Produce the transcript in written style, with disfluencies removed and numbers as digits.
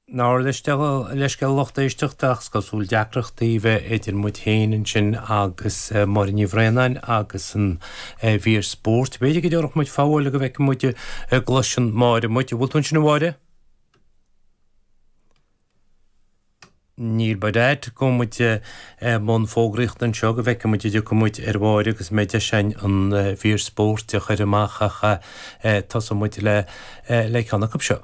Ár leithscéal a lucht éisteachta ach is cosúil deacrachtaí a bheith idir muid féin ansin agus Máire Ní Bhraonáin agus an mhír spóirt. B'fhéidir go dtabharfadh muid fabháil go bhfeicfidh muid an gcloiseann Máire muid. An bhfuil tú ansin a Mháire? Níl by dad. Gabhfaidh muid i mbun fógraíochta anseo go bhfeicfidh muid an dtiocfaidh muid ar Mháire agus an mbeidh deis againn an mhír spóirt a chur amach ach tosóidh muid le ceann acu seo.